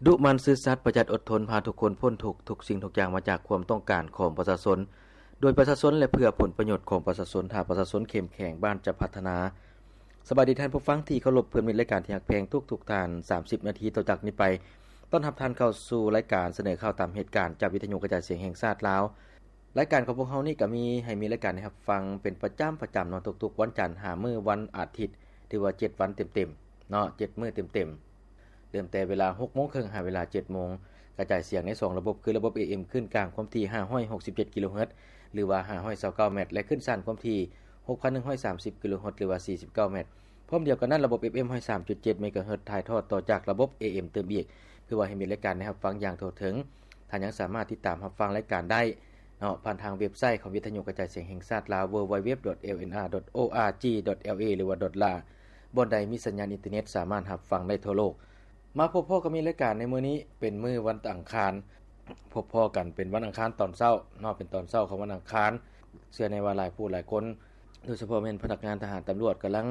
ດຸໝັ່ນຊື່ສັດ ປະຢັດອົດທົນ ພາທຸກຄົນພົ້ນທຸກ, ທຸກສິ່ງທຸກຢ່າງມາຈາກຄວາມຕ້ອງການຂອງປະຊາຊົນ, ໂດຍປະຊາຊົນ ແລະ ເພື່ອຜົນປະໂຫຍດຂອງປະຊາຊົນ. ຖ້າປະຊາຊົນເຂັ້ມແຂງ, ບ້ານຈະພັດທະນາ. ສະບາຍດີທ່ານຜູ້ຟັງທີ່ເຄົາລົບ, ເພື່ອນມິດລາຍການທີ່ຮັກແພງທຸກໆທ່ານ. ສາມສິບນາທີຕໍ່ຈາກນີ້ໄປ, ຕ້ອນຮັບທ່ານເຂົ້າສູ່ລາຍການສະເໜີຂ່າວຕາມເຫດການ ຈາກວິທະຍຸກະຈາຍສຽງແຫ່ງຊາດລາວ. ລາຍການຂອງພວກເຮົານີ້ກໍມີໃຫ້ມີລາຍການໃຫ້ຮັບຟັງເປັນປະຈຳ, ປະຈຳເນາະ, ທຸກໆວັນຈັນຫາມື້ວັນອາທິດ, ຖືວ່າເຈັດວັນເຕັມໆເນາະ, ເຈັດມື້ເຕັມໆ. ເລີ່ມແຕ່ເວລາຫົກໂມງເຄິ່ງຫາເວລາເຈັດໂມງ, ກະຈາຍສຽງໃນສອງລະບົບ ຄືລະບົບ ເອເອັມ ຄື້ນກາງຄວາມຖີ່ຫ້າຮ້ອຍຫົກສິບເຈັດກິໂລເຮີດ ຫຼືວ່າຫ້າຮ້ອຍຊາວເກົ້າແມັດ ແລະ ຄື້ນສັ້ນຄວາມຖີ່ຫົກພັນໜຶ່ງຮ້ອຍສາມສິບກິໂລເຮີດ ຫຼືວ່າສີ່ສິບເກົ້າແມັດ. ພ້ອມດຽວກັນນັ້ນ, ລະບົບ ເອຟເອັມ ຮ້ອຍສາມຈຸດເຈັດເມກາເຮີດ ຖ່າຍທອດຕໍ່ຈາກລະບົບ ເອເອັມ ຕື່ມອີກ, ເພື່ອວ່າໃຫ້ມີລາຍການໃຫ້ຮັບຟັງຢ່າງທົ່ວເຖິງ. ທ່ານຍັງສາມາດຕິດຕາມຮັບຟັງລາຍການໄດ້ເນາະ ຜ່ານທາງເວັບໄຊຂອງວິທະຍຸກະຈາຍສຽງແຫ່ງຊາດລາວ www.lnr.org.la ຫຼືວ່າ .la ບ່ອນໃດມີສັນຍານອິນເຕີເນັດສາມາດຮັບຟັງໄດ້ທົ່ວໂລກ. ມາພົບພໍ້ກັບມີລາຍການໃນມື້ນີ້ເປັນມື້ວັນອັງຄານ, ພົບພໍ້ກັນເປັນວັນອັງຄານຕອນເຊົ້າເນາະ, ເປັນຕອນເຊົ້າຂອງວັນອັງຄານ. ເຊື່ອແນ່ວ່າຫຼາຍຜູ້ຫຼາຍຄົນ ໂດຍສະເພາະແມ່ນພະນັກງານທະຫານຕຳຫຼວດກຳລັງ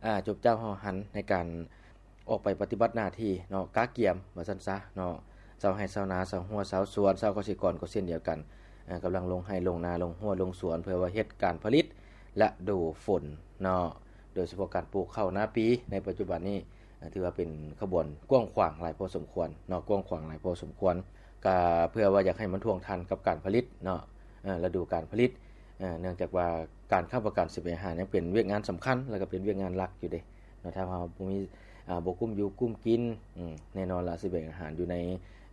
ອາ ຈົບຈ້າວເຮົາຫັນໃນການອອກໄປປະຕິບັດໜ້າທີ່ເນາະ, ກະກຽມວ່າຊັ້ນຊະເນາະ. ຊາວໄຮ່ຊາວນາ, ຊາວຮົ້ວຊາວສວນ, ຊາວກະສິກອນກໍເຊັ່ນດຽວກັນ, ອາ ກຳລັງລົງໄຮ່ລົງນາ, ລົງຮົ້ວລົງສວນ ເພື່ອວ່າເຮັດການຜະລິດລະດູຝົນເນາະ. ໂດຍສະເພາະການປູກເຂົ້ານາປີໃນປັດຈຸບັນນີ້ ອາ ຖືວ່າເປັນຂະບວນກວ້າງຂວາງຫຼາຍພໍສົມຄວນເນາະ, ກວ້າງຂວາງຫຼາຍພໍສົມຄວນ. ກະເພື່ອວ່າຢາກໃຫ້ມັນທ່ວງທັນກັບການຜະລິດເນາະ, ເອີ ລະດູການຜະລິດ, ເອີ ເນື່ອງຈາກວ່າການຄ້ຳປະກັນສະບຽງອາຫານຍັງເປັນວຽກງານສຳຄັນ ແລະ ກະເປັນວຽກງານຫຼັກຢູ່ເດ້ເນາະ. ຖ້າເຮົາບໍ່ມີ ອາ ບໍ່ກຸ້ມຢູ່ກຸ້ມກິນ, ອືມ ແນ່ນອນລະ ສະບຽງອາຫານຢູ່ໃນ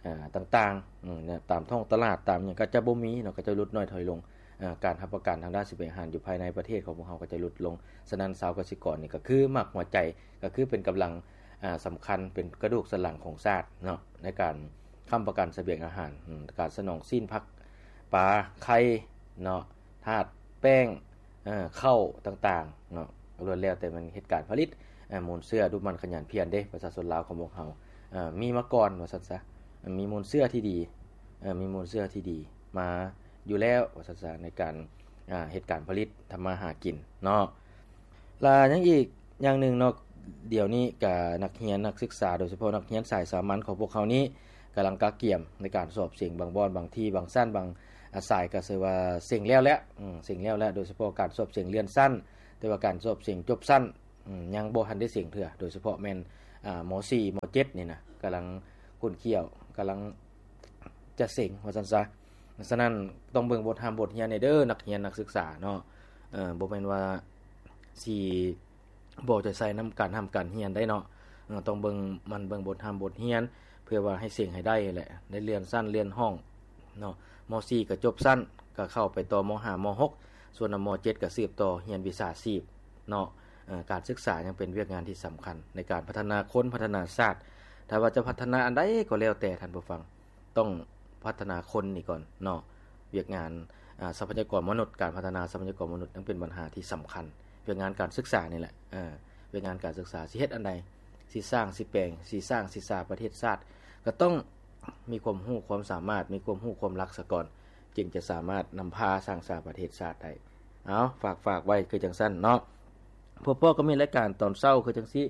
ອາ ຕ່າງໆ ອືມ ຕາມທ້ອງຕະຫຼາດ ຕາມຫຍັງກໍຈະບໍ່ມີເນາະ, ກໍຈະຫຼຸດນ້ອຍຖອຍລົງ. ອາ ການຮັບປະກັນທາງດ້ານສະບຽງອາຫານຢູ່ພາຍໃນປະເທດຂອງພວກເຮົາກໍຈະຫຼຸດລົງ. ສະນັ້ນ ຊາວກະສິກອນນີ້ກໍຄືໝາກຫົວໃຈ, ກໍຄືເປັນກຳລັງ ອາ ສຳຄັນ, ເປັນກະດູກສັນຫຼັງຂອງຊາດເນາະ, ໃນການຄ້ຳປະກັນສະບຽງອາຫານ, ອາ ການສະໜອງຊີ້ນ, ຜັກ, ປາ, ໄຂ່ເນາະ, ທາດ, ແປ້ງ, ເຂົ້າຕ່າງໆເນາະ, ລ້ວນແລ້ວແຕ່ແມ່ນເຮັດການຜະລິດ ອາ ມູນເຊື້ອ, ດຸໝັ່ນ, ຂະຫຍັນ, ພຽນເດ້. ປະຊາຊົນລາວຂອງພວກເຮົາ ເອີ ມີມາກ່ອນວ່າຊັ້ນຊະ, ມີມູນເຊື້ອທີ່ດີ, ເອີ ມີມູນເຊື້ອທີ່ດີມາຢູ່ແລ້ວວ່າຊັ້ນຊະ ໃນການ ອາ ເຮັດການຜະລິດທຳມາຫາກິນເນາະ. ລະຍັງອີກຢ່າງໜຶ່ງເນາະ, ດຽວນີ້ກະນັກຮຽນນັກສຶກສາ ໂດຍສະເພາະນັກຮຽນສາຍສາມັນຂອງພວກເຮົານີ້ ກຳລັງກະກຽມໃນການສອບເສັງ. ບາງບ່ອນ, ບາງທີ່, ບາງຊັ້ນ, ບາງ ອາ ສາຍກໍຊື່ວ່າເສັງແລ້ວແຫຼະ, ອືມ ເສັງແລ້ວແຫຼະ, ໂດຍສະເພາະການສອບເສັງເລື່ອນຊັ້ນ, ແຕ່ວ່າການສອບເສັງຈົບຊັ້ນ ອືມ ຍັງບໍ່ທັນໄດ້ເສັງເທື່ອ, ໂດຍສະເພາະແມ່ນ ອາ ມໍສີ່ ມໍເຈັດນີ້ນະ ກຳລັງຂຸ້ນຂ້ຽວ, ກຳລັງຈະເສັງວ່າຊັ້ນຊະ. ສະນັ້ນ ຕ້ອງເບິ່ງບົດຮ່ຳບົດຮຽນແດ່ເດີ ນັກຮຽນນັກສຶກສາເນາະ, ເອີ ບໍ່ແມ່ນວ່າຊິບໍ່ເອົາໃຈໃສ່ນຳການຮ່ຳການຮຽນໄດ້ເນາະ, ເອີ ຕ້ອງເບິ່ງ ໝັ່ນເບິ່ງບົດຮ່ຳບົດຮຽນ ເພື່ອວ່າໃຫ້ເສັງໃຫ້ໄດ້ແຫຼະ, ໄດ້ເລື່ອນຊັ້ນເລື່ອນຫ້ອງເນາະ. ມໍສີ່ກໍຈົບຊັ້ນ ກໍເຂົ້າໄປຕໍ່ມໍຫ້າ ມໍຫົກ, ສ່ວນ ມໍເຈັດກໍສືບຕໍ່ຮຽນວິຊາຊີບເນາະ. ເອີ ການສຶກສາຍັງເປັນວຽກງານທີ່ສຳຄັນໃນການພັດທະນາຄົນ, ພັດທະນາຊາດ. ຖ້າວ່າຈະພັດທະນາອັນໃດກໍແລ້ວແຕ່ທ່ານຜູ້ຟັງ, ຕ້ອງພັດທະນາຄົນນີ້ກ່ອນເນາະ. ວຽກງານ ອາ ຊັບພະຍາກອນມະນຸດ, ການພັດທະນາຊັບພະຍາກອນມະນຸດຍັງເປັນບັນຫາທີ່ສຳຄັນ. ວຽກງານການສຶກສານີ້ແຫຼະ, ເອີ ວຽກງານການສຶກສາ ຊິເຮັດອັນໃດ, ຊິສ້າງ, ຊິແປງ, ຊິສ້າງ, ຊິສາປະເທດຊາດ, ກໍຕ້ອງມີຄວາມຮູ້ຄວາມສາມາດ, ມີຄວາມຮູ້ຄວາມລັກສາກ່ອນ, ຈຶ່ງຈະສາມາດນຳພາສ້າງສາປະເທດຊາດໄດ້. ເອົາ ຝາກ, ຝາກໄວ້ຄືຈັ່ງຊັ້ນເນາະ. ພົບພໍ້ກັບມີລາຍການຕອນເຊົ້າຄືຈັ່ງຊີ້,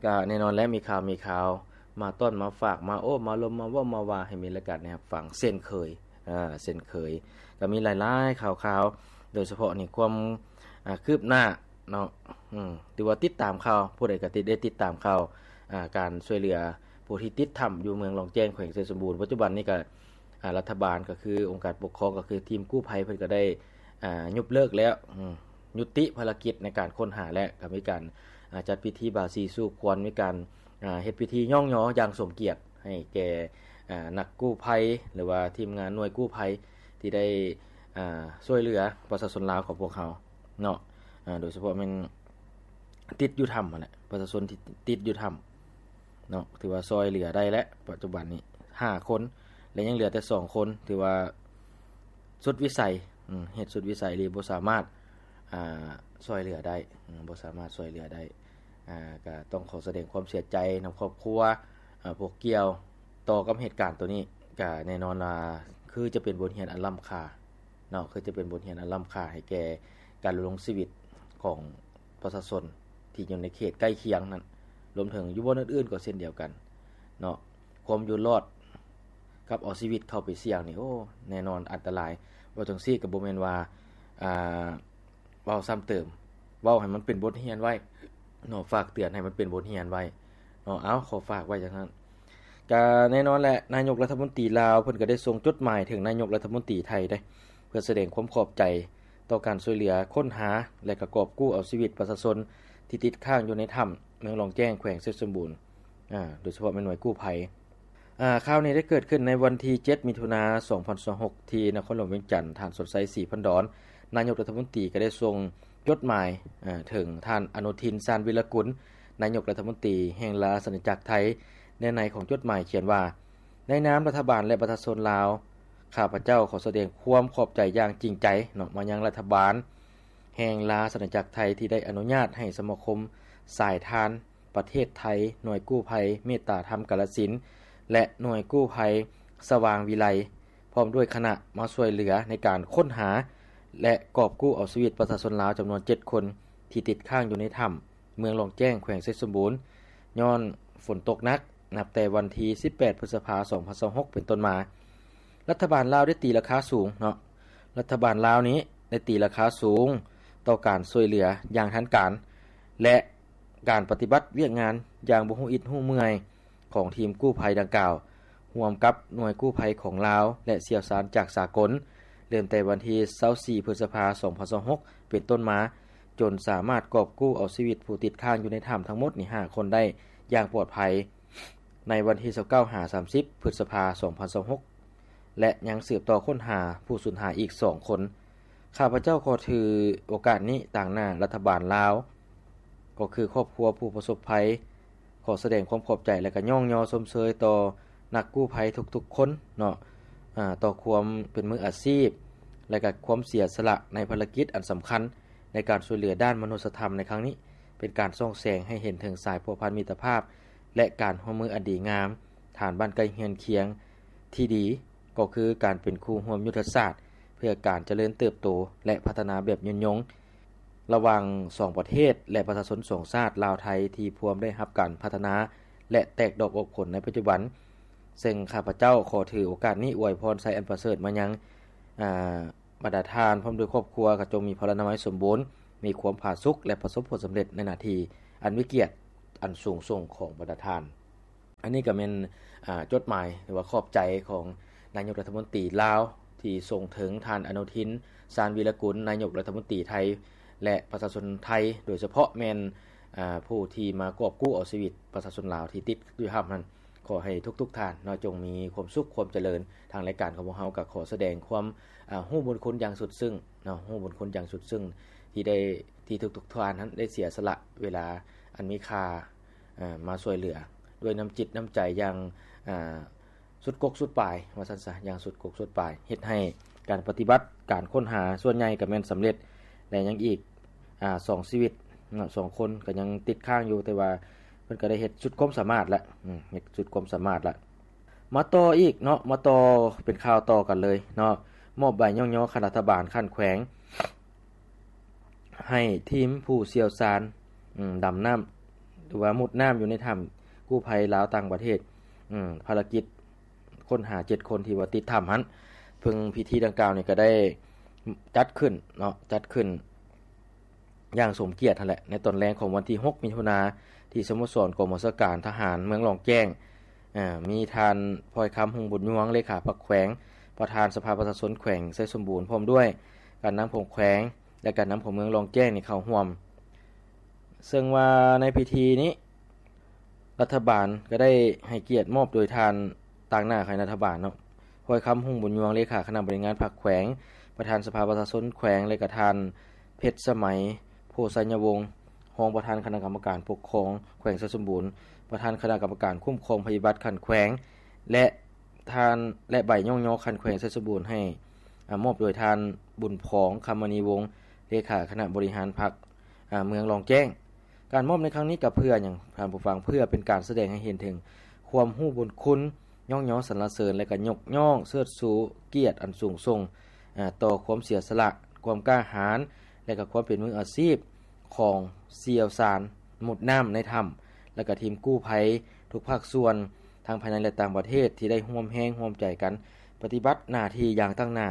ກະແນ່ນອນແຫຼະ ມີຂ່າວ, ມີຂ່າວມາຕ້ອນ, ມາຝາກ, ມາໂອ້, ມາລົມ, ມາເວົ້າ, ມາວ່າ ໃຫ້ມີລາຍການໃຫ້ຮັບຟັງເຊັ່ນເຄີຍ, ອາ ເຊັ່ນເຄີຍ. ກະມີຫຼາຍໆຂ່າວໆ, ໂດຍສະເພາະນີ້ຄວາມ ອາ ຄືບໜ້າເນາະ, ອືມ ຖືວ່າຕິດຕາມຂ່າວ, ຜູ້ໃດກະຕິດ ໄດ້ຕິດຕາມຂ່າວ ອາ ການຊ່ວຍເຫຼືອຜູ້ທີ່ຕິດຖ້ຳຢູ່ເມືອງລ້ອງແຈ້ງ ແຂວງໄຊສົມບູນ. ປັດຈຸບັນນີ້ກະ ອາ ລັດຖະບານ ກໍຄືອົງການປົກຄອງ ກໍຄືທີມກູ້ໄພ ເພິ່ນກໍໄດ້ ອາ ຍຸບເລີກແລ້ວ, ອືມ ຍຸຕິພາລະກິດໃນການຄົ້ນຫາ ແລະ ກໍມີການ ອາ ຈັດພິທີບາສີສູ່ຂວັນ, ມີການ ອາ ເຮັດພິທີຍ້ອງຍໍຢ່າງສົມກຽດໃຫ້ແກ່ ອາ ນັກກູ້ໄພ ຫຼືວ່າທີມງານໜ່ວຍກູ້ໄພ ທີ່ໄດ້ ອາ ຊ່ວຍເຫຼືອປະຊາຊົນລາວຂອງພວກເຮົາເນາະ, ອາ ໂດຍສະເພາະແມ່ນຕິດຢູ່ຖ້ຳຫັ້ນແຫຼະ, ປະຊາຊົນທີ່ຕິດຢູ່ຖ້ຳ ເນາະ, ຖືວ່າຊ່ອຍເຫຼືອໄດ້ແລ້ວ ປັດຈຸບັນນີ້ຫ້າຄົນ ແລະ ຍັງເຫຼືອແຕ່ສອງຄົນ ຖືວ່າສຸດວິໄສ, ເຮັດສຸດວິໄສອີ່ຫຼີ, ບໍ່ສາມາດ ອາ ຊ່ອຍເຫຼືອໄດ້, ບໍ່ສາມາດຊ່ອຍເຫຼືອໄດ້. ອາ ກະຕ້ອງຂໍສະແດງຄວາມເສຍໃຈນຳຄອບຄົວ ອາ ພວກກ່ຽວຕໍ່ກັບເຫດການໂຕນີ້. ກະແນ່ນອນວ່າ ຄືຈະເປັນບົດຮຽນອັນລ້ຳຄ່າເນາະ, ຄືຈະເປັນບົດຮຽນອັນລ້ຳຄ່າໃຫ້ແກ່ການດຳລົງຊີວິດຂອງ ປະຊາຊົນທີ່ຢູ່ໃນເຂດໃກ້ຄຽງນັ້ນ, ລວມເຖິງຢູ່ບ່ອນອື່ນໆກໍເຊັ່ນດຽວກັນເນາະ. ຄວາມຢູ່ລອດກັບເອົາຊີວິດເຂົ້າໄປສ່ຽງນີ້ ໂອ້ ແນ່ນອນອັນຕະລາຍ. ເວົ້າຈັ່ງຊີ້ກໍບໍ່ແມ່ນວ່າ ອ່າ ເວົ້າຊ້ຳເຕີມ, ເວົ້າໃຫ້ມັນເປັນບົດຮຽນໄວ້ເນາະ, ຝາກເຕືອນໃຫ້ມັນເປັນບົດຮຽນໄວ້ເນາະ. ເອົາ ຂໍຝາກໄວ້ຈັ່ງຊັ້ນ. ກະແນ່ນອນແຫຼະ ນາຍົກລັດຖະມົນຕີລາວເພິ່ນກະໄດ້ສົ່ງຈົດໝາຍເຖິງນາຍົກລັດຖະມົນຕີໄທເດ້ ເພື່ອສະແດງຄວາມຂອບໃຈຕໍ່ການຊ່ວຍເຫຼືອຄົ້ນຫາ ແລະ ກະກອບກູ້ເອົາຊີວິດປະຊາຊົນທີ່ຕິດຄ້າງຢູ່ໃນຖ້ຳເມືອງລ້ອງແຈ້ງ ແຂວງໄຊສົມບູນ ອາ ໂດຍສະເພາະແມ່ນໜ່ວຍກູ້ໄພ. ອາ ຂ່າວນີ້ໄດ້ເກີດຂຶ້ນໃນວັນທີເຈັດ ມິຖຸນາ ສອງພັນຊາວຫົກ ທີ່ນະຄອນຫຼວງວຽງຈັນ. ທ່ານ ສົນໄຊ ສີພັນດອນ ນາຍົກລັດຖະມົນຕີກໍໄດ້ສົ່ງຈົດໝາຍ ອາ ເຖິງທ່ານ ອະນຸທິນ ຊານວິລະກຸນ ນາຍົກລັດຖະມົນຕີແຫ່ງລາຊະອານາຈັກໄທ. ເນື້ອໃນຂອງຈົດໝາຍຂຽນວ່າ ໃນນາມລັດຖະບານ ແລະ ປະຊາຊົນລາວ, ຂ້າພະເຈົ້າຂໍສະແດງຄວາມຂອບໃຈຢ່າງຈິງໃຈເນາະ ມາຍັງລັດຖະບານແຫ່ງລາຊະອານາຈັກໄທ ທີ່ໄດ້ອະນຸຍາດໃຫ້ສະມາຄົມສາຍທານ ປະເທດໄທ, ໜ່ວຍກູ້ໄພເມດຕາທຳກາລະສິນ ແລະ ໜ່ວຍກູ້ໄພສະຫວ່າງວິໄລ ພ້ອມດ້ວຍຄະນະ ມາຊ່ວຍເຫຼືອໃນການຄົ້ນຫາ ແລະ ກອບກູ້ເອົາຊີວິດປະຊາຊົນລາວຈຳນວນເຈັດຄົນ ທີ່ຕິດຄ້າງຢູ່ໃນຖ້ຳເມືອງລ້ອງແຈ້ງ ແຂວງໄຊສົມບູນ ຍ້ອນຝົນຕົກໜັກ ນັບແຕ່ວັນທີສິບແປດ ພຶດສະພາ ສອງພັນຊາວຫົກ ເປັນຕົ້ນມາ. ລັດຖະບານລາວໄດ້ຕີລາຄາສູງເນາະ, ລັດຖະບານລາວນີ້ໄດ້ຕີລາຄາສູງຕໍ່ການຊ່ວຍເຫຼືອຢ່າງທັນການ ແລະ ການປະຕິບັດວຽກງານຢ່າງບໍ່ຮູ້ອິດຮູ້ເມື່ອຍຂອງທີມກູ້ໄພດັ່ງກ່າວ ຮ່ວມກັບໜ່ວຍກູ້ໄພຂອງລາວ ແລະ ຊ່ຽວຊານຈາກສາກົນ, ເລີ່ມແຕ່ວັນທີຊາວສີ່ ພຶດສະພາ ສອງພັນຊາວຫົກ ເປັນຕົ້ນມາ, ຈົນສາມາດກອບກູ້ເອົາຊີວິດຜູ້ຕິດຄ້າງຢູ່ໃນຖ້ຳທັງໝົດນີ້ຫ້າຄົນໄດ້ຢ່າງປອດໄພ ໃນວັນທີຊາວເກົ້າ ຫາ ສາມສິບ ພຶດສະພາ ສອງພັນຊາວຫົກ ແລະ ຍັງສືບຕໍ່ຄົ້ນຫາຜູ້ສູນຫາຍອີກສອງຄົນ. ຂ້າພະເຈົ້າຂໍຖືໂອກາດນີ້ຕາງໜ້າລັດຖະບານລາວ ກໍຄືຄອບຄົວຜູ້ປະສົບໄພ ຂໍສະແດງຄວາມຂອບໃຈ ແລະ ກະຍ້ອງຍໍຊົມເຊີຍຕໍ່ນັກກູ້ໄພທຸກໆຄົນເນາະ ອາ ຕໍ່ຄວາມເປັນມືອາຊີບ ແລະ ກະຄວາມເສຍສະຫຼະໃນພາລະກິດອັນສຳຄັນໃນການຊ່ວຍເຫຼືອດ້ານມະນຸດສະທຳໃນຄັ້ງນີ້ ເປັນການສ່ອງແສງໃຫ້ເຫັນເຖິງສາຍພົວພັນມິດຕະພາບ ແລະ ການຮ່ວມມືອັນດີງາມ ຖານບ້ານໃກ້ເຮືອນຄຽງທີ່ດີ ກໍຄືການເປັນຄູ່ຮ່ວມຍຸດທະສາດ ເພື່ອການຈະເລີນເຕີບໂຕ ແລະ ພັດທະນາແບບຍືນຍົງ ລະຫວ່າງສອງປະເທດ ແລະ ປະຊາຊົນສອງຊາດລາວ-ໄທ ທີ່ພວມໄດ້ຮັບການພັດທະນາ ແລະ ແຕກດອກອອກຜົນໃນປັດຈຸບັນ. ເຊິ່ງຂ້າພະເຈົ້າຂໍຖືໂອກາດນີ້ອວຍພອນໄຊອັນປະເສີດມາຍັງ ອາ ບັນດາທ່ານ ພ້ອມດ້ວຍຄອບຄົວ ກໍຈົ່ງມີພະລານາໄມສົມບູນ, ມີຄວາມຜາສຸກ ແລະ ປະສົບຜົນສຳເລັດໃນໜ້າທີ່ອັນມີກຽດອັນສູງສົ່ງຂອງບັນດາທ່ານ. ອັນນີ້ກໍແມ່ນ ອາ ຈົດໝາຍ ຫຼືວ່າຂອບໃຈຂອງນາຍົກລັດຖະມົນຕີລາວ ທີ່ສົ່ງເຖິງທ່ານ ອະນຸທິນ ຊານວິລະກຸນ ນາຍົກລັດຖະມົນຕີໄທ ແລະ ປະຊາຊົນໄທ ໂດຍສະເພາະແມ່ນ ອາ ຜູ້ທີ່ມາກອບກູ້ເອົາຊີວິດປະຊາຊົນລາວທີ່ຕິດຢູ່ຖ້ຳນັ້ນ. ຂໍໃຫ້ທຸກໆທ່ານເນາະ ຈົ່ງມີຄວາມສຸກຄວາມຈະເລີນ. ທາງລາຍການຂອງພວກເຮົາກໍຂໍສະແດງຄວາມ ອາ ຮູ້ບຸນຄຸນຢ່າງສຸດຊຶ້ງເນາະ, ຮູ້ບຸນຄຸນຢ່າງສຸດຊຶ້ງ ທີ່ໄດ້ ທີ່ທຸກໆທ່ານນັ້ນໄດ້ເສຍສະຫຼະເວລາອັນມີຄ່າ ເອີ ມາຊ່ວຍເຫຼືອດ້ວຍນ້ຳຈິດນ້ຳໃຈຢ່າງ ເອີ ສຸດກົກສຸດປາຍ ວ່າຊັ້ນຊະ, ຢ່າງສຸດກົກສຸດປາຍ ເຮັດໃຫ້ການປະຕິບັດການຄົ້ນຫາສ່ວນໃຫຍ່ກໍແມ່ນສຳເລັດ ແລະ ຍັງອີກ ອາ ສອງຊີວິດເນາະ ສອງຄົນກໍຍັງຕິດຄ້າງຢູ່, ແຕ່ວ່າເພິ່ນກໍໄດ້ເຮັດສຸດຄວາມສາມາດແລ້ວ ອືມ ເຮັດສຸດຄວາມສາມາດແລ້ວ. ມາຕໍ່ອີກເນາະ ມາຕໍ່ເປັນຂ່າວຕໍ່ກັນເລີຍເນາະ, ມອບໃບຍ້ອງຍໍຂັ້ນລັດຖະບານຂັ້ນແຂວງ ໃຫ້ທີມຜູ້ຊ່ຽວຊານ ອືມ ດຳນ້ຳ ຫຼືວ່າມຸດນ້ຳຢູ່ໃນຖ້ຳກູ້ໄພລາວຕ່າງປະເທດ ອືມ ພາລະກິດຄົ້ນຫາເຈັດຄົນທີ່ວ່າຕິດຖ້ຳຫັ້ນ. ເຊິ່ງພິທີດັ່ງກ່າວນີ້ກໍໄດ້ຈັດຂຶ້ນເນາະ ຈັດຂຶ້ນຢ່າງສົມກຽດຫັ້ນແຫຼະ ໃນຕອນແລງຂອງວັນທີຫົກ ມິຖຸນາ ທີ່ສະໂມສອນກອງບັນຊາການທະຫານເມືອງລ້ອງແຈ້ງ. ອາ ມີທ່ານ ພອຍຄຳ ຮຸ່ງບຸນຍວງ ເລຂາພັກແຂວງ, ປະທານສະພາປະຊາຊົນແຂວງໄຊສົມບູນ ພ້ອມດ້ວຍການນຳຂອງແຂວງ ແລະ ການນຳຂອງເມືອງລ້ອງແຈ້ງນີ້ເຂົ້າຮ່ວມ. ເຊິ່ງວ່າໃນພິທີນີ້ ລັດຖະບານກໍໄດ້ໃຫ້ກຽດມອບໂດຍທ່ານ ຕາງໜ້າຄະນະລັດຖະບານເນາະ ພອຍຄຳ ຮຸ່ງບຸນຍວງ ເລຂາຄະນະບໍລິຫານພັກແຂວງ, ປະທານສະພາປະຊາຊົນແຂວງ ແລະ ກະທ່ານ ເພັດສະໄໝ ໂພໄຊຍະວົງ ຮອງປະທານຄະນະກຳມະການປົກຄອງແຂວງໄຊສົມບູນ, ປະທານຄະນະກຳມະການຄຸ້ມຄອງໄພພິບັດຂັ້ນແຂວງ ແລະ ທ່ານ ແລະ ໃບຍ້ອງຍໍຂັ້ນແຂວງໄຊສົມບູນໃຫ້ ອາ ມອບໂດຍທ່ານ ບຸນຜອງ ຄຳມະນີວົງ ເລຂາຄະນະບໍລິຫານພັກ ອາ ເມືອງລ້ອງແຈ້ງ. ການມອບໃນຄັ້ງນີ້ກໍເພື່ອຫຍັງທ່ານຜູ້ຟັງ? ເພື່ອເປັນການສະແດງໃຫ້ເຫັນເຖິງຄວາມຮູ້ບຸນຄຸນ, ຍ້ອງຍໍສັນລະເສີນ ແລະ ກໍຍົກຍ້ອງເຊີດຊູກຽດອັນສູງສົ່ງ ອາ ຕໍ່ຄວາມເສຍສະຫຼະ, ຄວາມກ້າຫານ ແລະ ກໍຄວາມເປັນມືອາຊີບຂອງຊ່ຽວຊານມຸດນ້ຳໃນຖ້ຳ ແລະ ກໍທີມກູ້ໄພທຸກພາກສ່ວນ, ທັງພາຍໃນ ແລະ ຕ່າງປະເທດ ທີ່ໄດ້ຮ່ວມແຮງຮ່ວມໃຈກັນປະຕິບັດໜ້າທີ່ຢ່າງຕັ້ງໜ້າ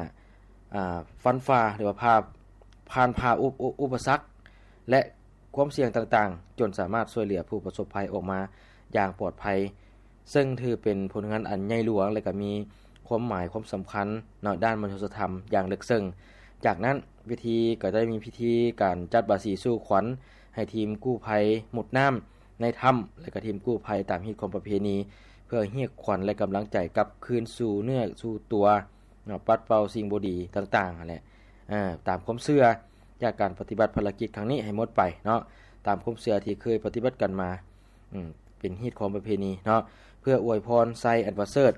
ອາ ຟັນຝ່າ ຫຼືວ່າຜ່າ ຜ່ານຜ່າອຸປະ ອຸປະສັກ ແລະ ຄວາມສ່ຽງຕ່າງໆ ຈົນສາມາດຊ່ວຍເຫຼືອຜູ້ປະສົບໄພອອກມາຢ່າງປອດໄພ ເຊິ່ງຖືເປັນຜົນງານອັນໃຫຍ່ຫຼວງ ແລະ ກໍມີຄວາມໝາຍຄວາມສຳຄັນເນາະ ດ້ານມະນຸດສະທຳຢ່າງເລິກເຊິ່ງ. ຈາກນັ້ນ ເວທີກໍໄດ້ມີພິທີການຈັດບາສີສູ່ຂວັນໃຫ້ທີມກູ້ໄພມຸດນ້ຳໃນຖ້ຳ ແລະ ກໍທີມກູ້ໄພຕາມຮີດຄອງປະເພນີ ເພື່ອຮຽກຂວັນ ແລະ ກຳລັງໃຈກັບຄືນສູ່ເນື້ອສູ່ຕົວເນາະ ປັດເປົ່າສິ່ງບໍ່ດີຕ່າງໆຫັ້ນແຫຼະ ເອີ ຕາມຄວາມເຊື່ອ ຈາກການປະຕິບັດພາລະກິດຄັ້ງນີ້ໃຫ້ໝົດໄປເນາະ ຕາມຄວາມເຊື່ອທີ່ເຄີຍປະຕິບັດກັນມາ ອືມ ເປັນຮີດຄອງປະເພນີເນາະ ເພື່ອອວຍພອນໄຊອັນປະເສີດ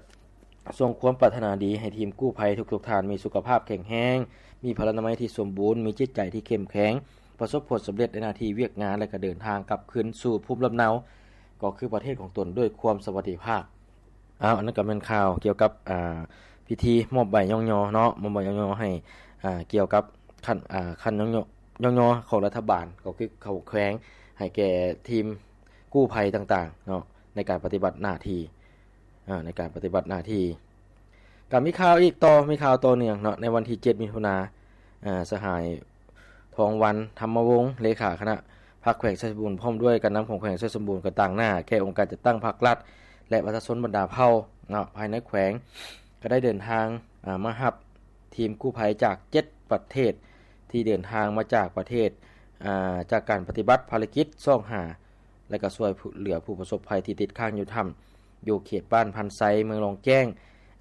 ສົ່ງຄວາມປາດຖະໜາດີໃຫ້ທີມກູ້ໄພທຸກໆທ່ານມີສຸຂະພາບແຂງແຮງ, ມີພະລານາໄມທີ່ສົມບູນ, ມີຈິດໃຈທີ່ເຂັ້ມແຂງ, ປະສົບຜົນສຳເລັດໃນໜ້າທີ່ວຽກງານ ແລະ ກະເດີນທາງກັບຄືນສູ່ພູມລຳເນົາ ກໍຄືປະເທດຂອງຕົນດ້ວຍຄວາມສະຫວັດດີພາບ. ອ້າວ ອັນນັ້ນກໍແມ່ນຂ່າວກ່ຽວກັບ ອ່າ ພິທີມອບໃບຍ້ອງຍໍເນາະ ມອບໃບຍ້ອງຍໍໃຫ້ ອ່າ ກ່ຽວກັບຂັ້ນ ອ່າ ຂັ້ນຍ້ອງຍໍ ຍ້ອງຍໍຂອງລັດຖະບານ ກໍຄືເຂົາແຂວງ ໃຫ້ແກ່ທີມກູ້ໄພຕ່າງໆເນາະ ໃນການປະຕິບັດໜ້າທີ່ ອ່າ ໃນການປະຕິບັດໜ້າທີ່. ກໍມີຂ່າວອີກຕໍ່ ມີຂ່າວຕໍ່ເນື່ອງເນາະ ໃນວັນທີເຈັດ ມິຖຸນາ ອ່າ ສະຫາຍ ທອງວັນ ທຳມະວົງ ເລຂາຄະນະພັກແຂວງໄຊສົມບູນ ພ້ອມດ້ວຍການນຳຂອງແຂວງໄຊສົມບູນ ກໍຕາງໜ້າແກ່ອົງການຈັດຕັ້ງພັກລັດ ແລະ ປະຊາຊົນບັນດາເຜົ່າເນາະ ພາຍໃນແຂວງ ກໍໄດ້ເດີນທາງ ອາ ມາຮັບທີມກູ້ໄພຈາກເຈັດປະເທດ ທີ່ເດີນທາງມາຈາກປະເທດ ອາ ຈາກການປະຕິບັດພາລະກິດຊອກຫາ ແລະ ກໍຊ່ວຍເຫຼືອຜູ້ປະສົບໄພທີ່ຕິດຄ້າງຢູ່ຖ້ຳ ຢູ່ເຂດບ້ານພັນໄຊ ເມືອງລອງແຈ້ງ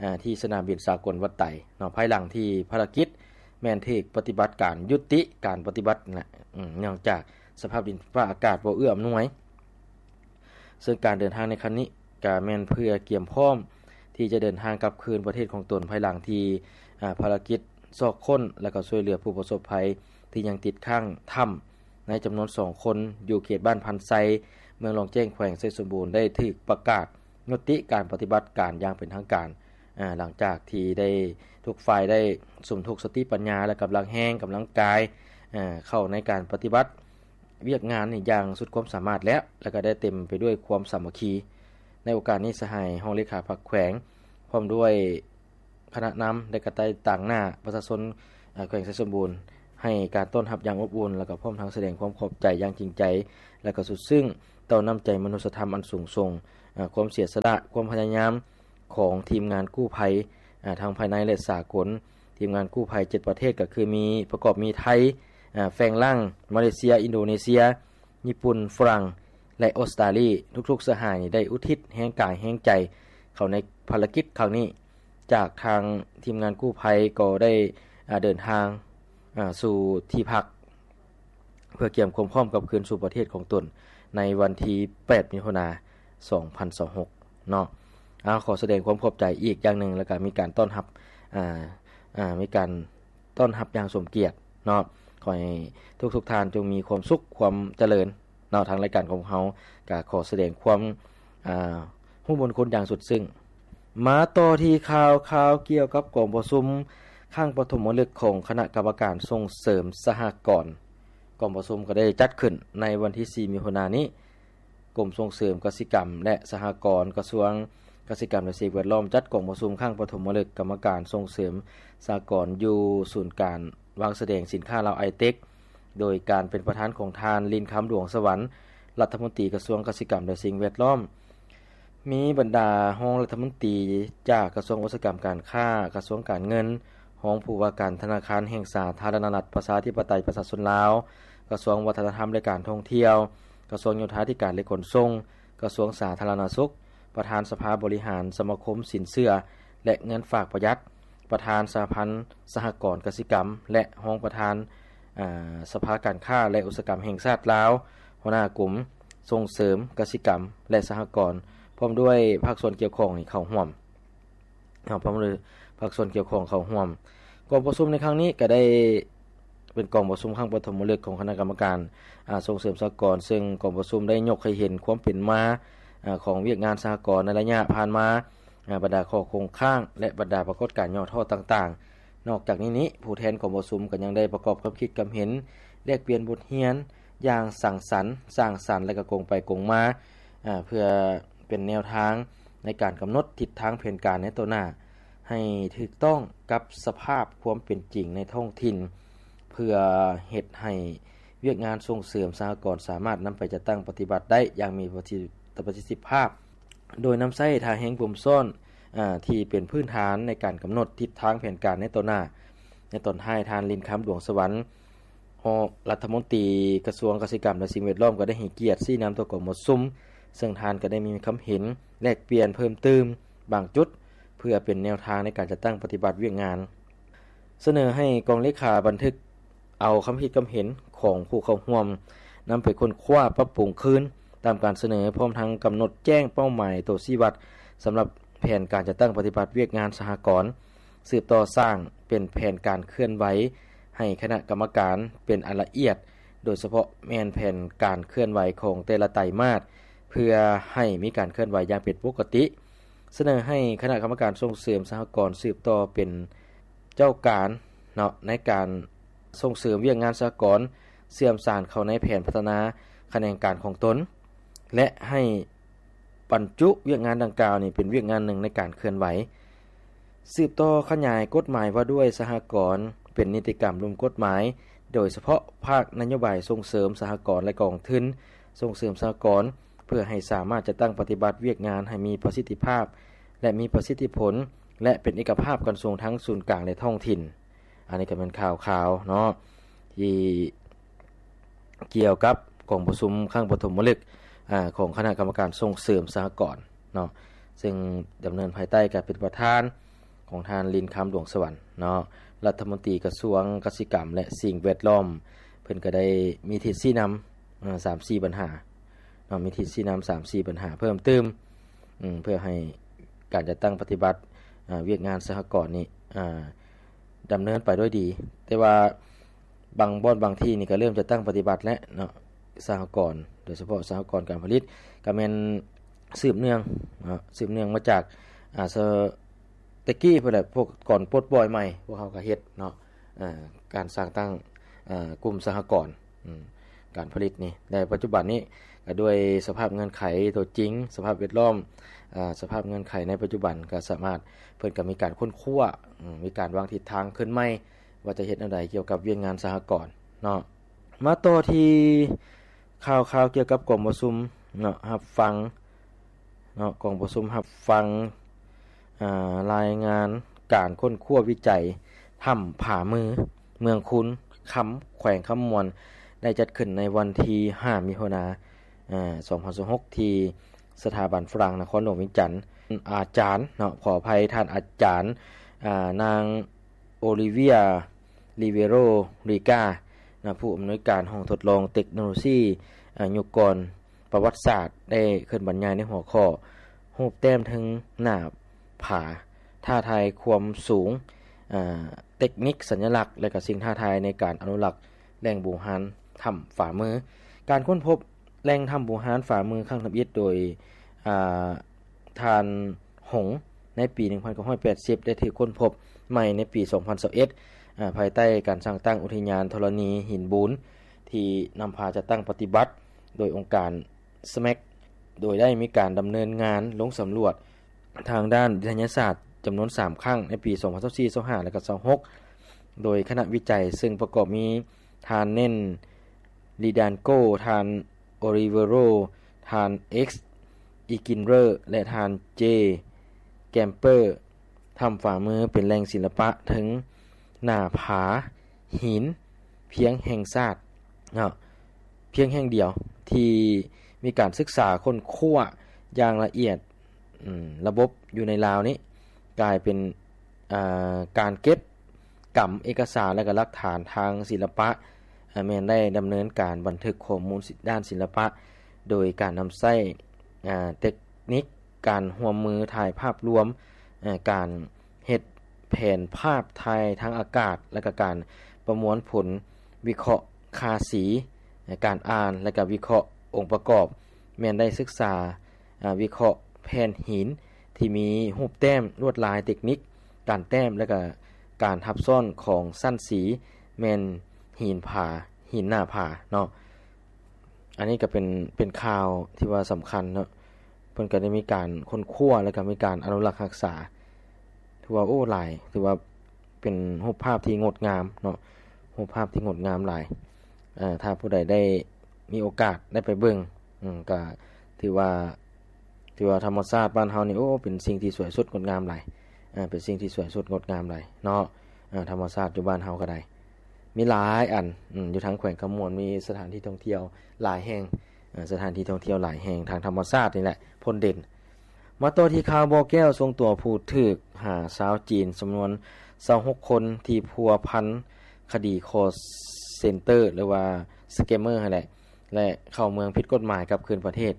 ອາ ທີ່ສະໜາມບິນສາກົນວັດໄຕເນາະ ພາຍຫຼັງທີ່ພາລະກິດແມ່ນຖືກປະຕິບັດການ ຍຸຕິການປະຕິບັດນະ ອາ ເນື່ອງຈາກສະພາບດິນຟ້າອາກາດບໍ່ເອື້ອອຳນວຍ. ເຊິ່ງການເດີນທາງໃນຄັ້ງນີ້ ກະແມ່ນເພື່ອກຽມພ້ອມທີ່ຈະເດີນທາງກັບຄືນປະເທດຂອງຕົນ ພາຍຫຼັງທີ່ ອາ ພາລະກິດຊອກຄົ້ນ ແລະ ກໍຊ່ວຍເຫຼືອຜູ້ປະສົບໄພທີ່ຍັງຕິດຄ້າງຖ້ຳ ໃນຈຳນວນສອງຄົນ ຢູ່ເຂດບ້ານພັນໄຊ ເມືອງລອງແຈ້ງ ແຂວງໄຊສົມບູນ ໄດ້ຖືກປະກາດຍຸຕິການປະຕິບັດການຢ່າງເປັນທາງການ ອາ ຫຼັງຈາກທີ່ໄດ້ ທຸກຝ່າຍໄດ້ສົມທົບສະຕິປັນຍາ ແລະ ກຳລັງແຮງ ກຳລັງກາຍ ອາ ເຂົ້າໃນການປະຕິບັດວຽກງານນີ້ຢ່າງສຸດຄວາມສາມາດແລ້ວ ແລະ ກໍໄດ້ເຕັມໄປດ້ວຍຄວາມສາມັກຄີ. ໃນໂອກາດນີ້ ສະຫາຍຮອງເລຂາພັກແຂວງ ພ້ອມດ້ວຍ ຄະນະນຳ ແລະ ກະໄດ້ຕາງໜ້າປະຊາຊົນ ເອີ ແຂວງໄຊສົມບູນ ໃຫ້ການຕ້ອນຮັບຢ່າງອົບອຸ່ນ ແລະ ກໍພ້ອມທັງສະແດງຄວາມຂອບໃຈຢ່າງຈິງໃຈ ແລະ ກໍສຸດຊຶ້ງຕໍ່ນ້ຳໃຈມະນຸດສະທຳອັນສູງສົ່ງ, ເອີ ຄວາມເສຍສະຫຼະ, ຄວາມພະຍາຍາມຂອງທີມງານກູ້ໄພ ເອີ ທັງພາຍໃນ ແລະ ສາກົນ. ທີມງານກູ້ໄພເຈັດປະເທດ ກໍຄືມີ ປະກອບມີໄທ, ເອີ ແຟງລັງ, ມາເລເຊຍ, ອິນໂດເນເຊຍ, ຍີ່ປຸ່ນ, ຝຣັ່ງ ແລະ ອົດສະຕາລີ ທຸກໆສະຫາຍໄດ້ອຸທິດແຮງກາຍແຮງໃຈເຂົ້າໃນພາລະກິດຄັ້ງນີ້. ຈາກທາງທີມງານກູ້ໄພກໍໄດ້ ອາ ເດີນທາງ ອາ ສູ່ທີ່ພັກ ເພື່ອກຽມຄວາມພ້ອມກັບຄືນສູ່ປະເທດຂອງຕົນໃນວັນທີແປດ ມິຖຸນາ ສອງພັນຊາວຫົກເນາະ. ອາ ຂໍສະແດງຄວາມຂອບໃຈອີກຢ່າງໜຶ່ງ ແລ້ວກະມີການຕ້ອນຮັບ ອາ ອາ ມີການ ຕ້ອນຮັບຢ່າງສົມກຽດເນາະ. ຂໍໃຫ້ທຸກໆທ່ານຈົ່ງມີຄວາມສຸກຄວາມຈະເລີນເນາະ. ທາງລາຍການຂອງເຮົາກະຂໍສະແດງຄວາມ ອາ ຮູ້ບຸນຄຸນຢ່າງສຸດຊຶ້ງ. ມາຕໍ່ທີ່ຂ່າວ ຂ່າວກ່ຽວກັບກອງປະຊຸມຄັ້ງປະຖົມມະລຶກຂອງຄະນະກຳມະການສົ່ງເສີມສະຫະກອນ. ກອງປະຊຸມກໍໄດ້ຈັດຂຶ້ນໃນວັນທີສີ່ ມິຖຸນານີ້. ກົມສົ່ງເສີມກະສິກຳ ແລະ ສະຫະກອນ ກະຊວງກະສິກຳ ແລະ ສິ່ງແວດລ້ອມ ຈັດກອງປະຊຸມຄັ້ງປະຖົມມະລຶກກຳມະການສົ່ງເສີມສະຫະກອນຢູ່ສູນການວາງສະແດງສິນຄ້າລາວໄອເຕັກ ໂດຍການເປັນປະທານຂອງທ່ານ ລິນຄຳ ດວງສະຫວັນ ລັດຖະມົນຕີກະຊວງກະສິກຳ ແລະ ສິ່ງແວດລ້ອມ. ມີບັນດາຮອງລັດຖະມົນຕີຈາກກະຊວງອຸດສາຫະກຳການຄ້າ, ກະຊວງການເງິນ, ຮອງຜູ້ວ່າການທະນາຄານແຫ່ງສາທາລະນະລັດປະຊາທິປະໄຕປະຊາຊົນລາວ, ກະຊວງວັດທະນະທຳ ແລະ ການທ່ອງທ່ຽວ, ກະຊວງໂຍທາທິການ ແລະ ຂົນສົ່ງ, ກະຊວງສາທາລະນະສຸກ, ປະທານສະພາບໍລິຫານສະມາຄົມສິນເຊື່ອ ແລະ ເງິນຝາກປະຢັດ, ປະທານສະຫະພັນສະຫະກອນກະສິກຳ ແລະ ຮອງປະທານ ອາ ສະພາການຄ້າ ແລະ ອຸດສາຫະກຳແຫ່ງຊາດລາວ, ຫົວໜ້າກົມສົ່ງເສີມກະສິກຳ ແລະ ສະຫະກອນ, ພ້ອມດ້ວຍພາກສ່ວນກ່ຽວຂ້ອງນີ້ເຂົ້າຮ່ວມ. ເນາະ ພ້ອມດ້ວຍພາກສ່ວນກ່ຽວຂ້ອງເຂົ້າຮ່ວມ. ກອງປະຊຸມໃນຄັ້ງນີ້ກໍໄດ້ເປັນກອງປະຊຸມຄັ້ງປະຖົມມະລຶກຂອງຄະນະກຳມະການ ອາ ສົ່ງເສີມສະຫະກອນ, ເຊິ່ງກອງປະຊຸມໄດ້ຍົກໃຫ້ເຫັນຄວາມເປັນມາ ອາ ຂອງວຽກງານສະຫະກອນໃນໄລຍະຜ່ານມາ, ອາ ບັນດາຂໍ້ຄົງຄ້າງ ແລະ ບັນດາປາກົດການຫຍໍ້ທໍ້ຕ່າງໆ. ນອກຈາກນີ້ນີ້ ຜູ້ແທນກອງປະຊຸມກໍຍັງໄດ້ປະກອບຄຳຄິດຄຳເຫັນ, ແລກປ່ຽນບົດຮຽນຢ່າງສັງສັນ, ສ້າງສັນ ແລະ ກໍກົງໄປກົງມາ, ອາ ເພື່ອເປັນແນວທາງ ໃນການກຳນົດທິດທາງແຜນການໃນຕໍ່ໜ້າ ໃຫ້ຖືກຕ້ອງກັບສະພາບຄວາມເປັນຈິງໃນທ້ອງຖິ່ນ ເພື່ອເຮັດໃຫ້ວຽກງານສົ່ງເສີມສະຫະກອນສາມາດນຳໄປຈັດຕັ້ງປະຕິບັດໄດ້ຢ່າງມີປະສິດທິ ປະສິດທິພາບ, ໂດຍນຳໃຊ້ທ່າແຮງບົ່ມຊ້ອນ ອາ ທີ່ເປັນພື້ນຖານໃນການກຳນົດທິດທາງແຜນການໃນຕໍ່ໜ້າ. ໃນຕອນທ້າຍ, ທ່ານ ລິນຄຳ ດວງສະຫວັນ ຮອງລັດຖະມົນຕີກະຊວງກະສິກຳ ແລະ ສິ່ງແວດລ້ອມ ກໍໄດ້ໃຫ້ກຽດຊີ້ນຳຕໍ່ກອງປະຊຸມ, ເຊິ່ງທ່ານກໍໄດ້ມີຄຳເຫັນແລກປ່ຽນເພີ່ມຕື່ມບາງຈຸດ ເພື່ອເປັນແນວທາງໃນການຈັດຕັ້ງປະຕິບັດວຽກງານ. ສະເໜີໃຫ້ກອງເລຂາບັນທຶກເອົາຄຳຄິດຄຳເຫັນຂອງຜູ້ເຂົ້າຮ່ວມ ນຳໄປຄົ້ນຄວ້າປັບປຸງຄືນຕາມການສະເໜີ, ພ້ອມທັງກຳນົດແຈ້ງເປົ້າໝາຍໂຕຊີ້ວັດສຳລັບແຜນການຈັດຕັ້ງປະຕິບັດວຽກງານສະຫະກອນ, ສືບຕໍ່ສ້າງເປັນແຜນການເຄື່ອນໄຫວໃຫ້ຄະນະກຳມະການເປັນອັນລະອຽດ, ໂດຍສະເພາະແມ່ນແຜນການເຄື່ອນໄຫວຂອງແຕ່ລະໄຕມາດ ເພື່ອໃຫ້ມີການເຄື່ອນໄຫວຢ່າງເປັນປົກກະຕິ. ສະເໜີໃຫ້ຄະນະກຳມະການສົ່ງເສີມສະຫະກອນສືບຕໍ່ເປັນເຈົ້າການເນາະ ໃນການສົ່ງເສີມວຽກງານສະຫະກອນ, ເຊື່ອມສານເຂົ້າໃນແຜນພັດທະນາຂະແໜງການຂອງຕົນ ແລະ ໃຫ້ບັນຈຸວຽກງານດັ່ງກ່າວນີ້ເປັນວຽກງານໜຶ່ງໃນການເຄື່ອນໄຫວ. ສືບຕໍ່ຂະຫຍາຍກົດໝາຍວ່າດ້ວຍສະຫະກອນເປັນນິຕິກຳລຸ່ມກົດໝາຍ, ໂດຍສະເພາະພາກນະໂຍບາຍສົ່ງເສີມສະຫະກອນ ແລະ ກອງທຶນສົ່ງເສີມສະຫະກອນ ເພື່ອໃຫ້ສາມາດຈັດຕັ້ງປະຕິບັດວຽກງານໃຫ້ມີປະສິດທິພາບ ແລະ ມີປະສິດທິຜົນ ແລະ ເປັນເອກະພາບກັນສົ່ງທັງສູນກາງ ແລະ ທ້ອງຖິ່ນ. ອັນນີ້ກໍແມ່ນຂ່າວຄາວເນາະ ທີ່ກ່ຽວກັບກອງປະຊຸມຄັ້ງປະຖົມມະລຶກ ອາ ຂອງຄະນະກຳມະການສົ່ງເສີມສະຫະກອນເນາະ ເຊິ່ງດຳເນີນພາຍໃຕ້ການເປັນປະທານຂອງທ່ານ ລິນຄຳ ດວງສະຫວັນເນາະ ລັດຖະມົນຕີກະຊວງກະສິກຳ ແລະ ສິ່ງແວດລ້ອມ. ເພິ່ນກໍໄດ້ມີທິດຊີ້ນຳ ອາ ສາມສີ່ບັນຫາເນາະ ມີທິດຊີ້ນຳສາມສີ່ບັນຫາເພີ່ມຕື່ມ ອາ ເພື່ອໃຫ້ການຈັດຕັ້ງປະຕິບັດ ອາ ວຽກງານສະຫະກອນນີ້ ອາ ດຳເນີນໄປດ້ວຍດີ. ແຕ່ວ່າບາງບ່ອນບາງທີ່ນີ້ກໍເລີ່ມຈັດຕັ້ງປະຕິບັດແລ້ວເນາະ ສະຫະກອນ ໂດຍສະເພາະສະຫະກອນການຜະລິດ ກໍແມ່ນສືບເນື່ອງເນາະ ສືບເນື່ອງມາຈາກ ອາ ສະ ແຕ່ກີ້ພຸ້ນແຫຼະ ພວກກ່ອນປົດປ່ອຍໃໝ່ ພວກເຮົາກໍເຮັດເນາະ ເອີ ການສ້າງຕັ້ງ ເອີ ກຸ່ມສະຫະກອນ ອາ ການຜະລິດນີ້ ແລະ ປັດຈຸບັນນີ້ກໍດ້ວຍສະພາບເງື່ອນໄຂຕົວຈິງ ສະພາບແວດລ້ອມ ອາ ສະພາບເງື່ອນໄຂໃນປັດຈຸບັນກໍສາມາດ ເພິ່ນກໍມີການຄົ້ນຄວ້າ ອາ ມີການວາງທິດທາງຄືນໃໝ່ ວ່າຈະເຮັດແນວໃດກ່ຽວກັບວຽກງານສະຫະກອນເນາະ. ມາຕໍ່ທີ່ຂ່າວຄາວກ່ຽວກັບກອງປະຊຸມເນາະ ຮັບຟັງເນາະ ກອງປະຊຸມຮັບຟັງ ອາ ລາຍງານການຄົ້ນຄວ້າວິໄຈຖ້ຳຜາມື ເມືອງຄູນຄຳ ແຂວງຄຳມ່ວນ ໄດ້ຈັດຂຶ້ນໃນວັນທີຫ້າ ມິຖຸນາ ອາ ສອງພັນຊາວຫົກ ທີ່ສະຖາບັນຝຣັ່ງນະຄອນຫຼວງວຽງຈັນ. ອາຈານເນາະ ຂໍອະໄພ ທ່ານອາຈານ ອາ ນາງ ໂອລິເວຍ ລິເວໂຣ ຣີກາ ນະ ຜູ້ອຳນວຍການຫ້ອງທົດລອງເຕັກໂນໂລຊີ ອາ ຍຸກກ່ອນປະຫວັດສາດ ໄດ້ຂຶ້ນບັນຍາຍໃນຫົວຂໍ້ ຮູບແຕ້ມເທິງໜ້າຜາ ທ້າທາຍຄວາມສູງ ອາ ເຕັກນິກສັນຍະລັກ ແລະ ກະສິ່ງທ້າທາຍໃນການອະນຸລັກແຫຼ່ງບູຮານຖ້ຳຝາມື. ການຄົ້ນພົບແຫຼ່ງຖ້ຳບູຮານຝາມືຄັ້ງທຳອິດໂດຍ ອາ ທ່ານ ຫົງ ໃນປີໜຶ່ງພັນເກົ້າຮ້ອຍແປດສິບ ໄດ້ຖືກຄົ້ນພົບໃໝ່ໃນປີສອງພັນຊາວເອັດ ອາ ພາຍໃຕ້ການສ້າງຕັ້ງອຸທິຍານທໍລະນີຫີນບູນ ທີ່ນຳພາຈັດຕັ້ງປະຕິບັດໂດຍອົງການ ສແມັກ ໂດຍໄດ້ມີການດຳເນີນງານລົງສຳຫຼວດທາງດ້ານວິທະຍາສາດຈຳນວນສາມຄັ້ງ ໃນປີສອງພັນຊາວສີ່ ຊາວຫ້າ ແລະ ກໍຊາວຫົກ ໂດຍຄະນະວິໄຈ ເຊິ່ງປະກອບມີ ທ່ານ ເນັນ ລີດານໂກ, ທ່ານ ໂອລິເວໂຣ, ທ່ານ ເອັກ ອີກິນເຣີ ແລະ ທ່ານ ເຈ ແກມເປີ. ຖ້ຳຝາມືເປັນແຫຼ່ງສິລະປະເທິງໜ້າຜາຫີນພຽງແຫ່ງຊາດເນາະ ພຽງແຫ່ງດຽວທີ່ມີການສຶກສາຄົ້ນຄວ້າຢ່າງລະອຽດ. ອາ ລະບົບຢູ່ໃນລາວນີ້ກາຍເປັນ ອາ ການເກັບກຳເອກະສານ ແລະ ກະຫຼັກຖານທາງສິລະປະ ອາ ແມ່ນໄດ້ດຳເນີນການບັນທຶກຂໍ້ມູນດ້ານສິລະປະ ໂດຍການນຳໃຊ້ ອາ ເຕັກນິກການຮ່ວມມືຖ່າຍພາບລວມ ອາ ການເຮັດແຜນພາບຖ່າຍທາງອາກາດ ແລະ ກະການປະມວນຜົນວິເຄາະຄ່າສີ ການອ່ານ ແລະ ກະວິເຄາະອົງປະກອບ ແມ່ນໄດ້ສຶກສາ ອາ ວິເຄາະແຜ່ນຫີນທີ່ມີຮູບແຕ້ມລວດລາຍເຕັກນິກການແຕ້ມ ແລະ ກະການທັບຊ້ອນຂອງຊັ້ນສີ ແມ່ນຫີນຜາ ຫີນໜ້າຜາເນາະ. ອັນນີ້ກະເປັນ ເປັນຂ່າວທີ່ວ່າສຳຄັນເນາະ ພິ່ນກໍໄດ້ມີການຄົ້ນຄວ້າ ແລ້ວກໍມີການອະນຸລັກຮັກສາ ຖືວ່າ ໂອ້ ຫຼາຍ ຖືວ່າເປັນຮູບພາບທີ່ງົດງາມເນາະ ຮູບພາບທີ່ງົດງາມຫຼາຍ. ເອີ ຖ້າຜູ້ໃດໄດ້ມີໂອກາດໄດ້ໄປເບິ່ງ ອືມ ກໍຖືວ່າ ຖືວ່າທຳມະຊາດບ້ານເຮົານີ້ ໂອ້ ເປັນສິ່ງທີ່ສວຍສົດງົດງາມຫຼາຍ ເປັນສິ່ງທີ່ສວຍສົດງົດງາມຫຼາຍເນາະ. ທຳມະຊາດຢູ່ບ້ານເຮົາກໍໄດ້ ມີຫຼາຍອັນ ອືມ ຢູ່ທາງແຂວງຄຳມ່ວນ ມີສະຖານທີ່ທ່ອງທ່ຽວຫຼາຍແຫ່ງ ເອີ ສະຖານທີ່ທ່ອງທ່ຽວຫຼາຍແຫ່ງ ທາງທຳມະຊາດນີ້ແຫຼະພົ້ນເດັ່ນ. ມາຕໍ່ທີ່ຂ່າວບໍ່ແກ້ວ ສົ່ງຕົວຜູ້ຖືກຫາຊາວຈີນຈຳນວນຊາວຫົກຄົນ ທີ່ພົວພັນຄະດີຄໍເຊັນເຕີ ຫຼືວ່າສະແກມເມີຫັ້ນແຫຼະ ແລະ ເຂົ້າເມືອງຜິດກົດໝາຍກັບຄືນປະເທດ.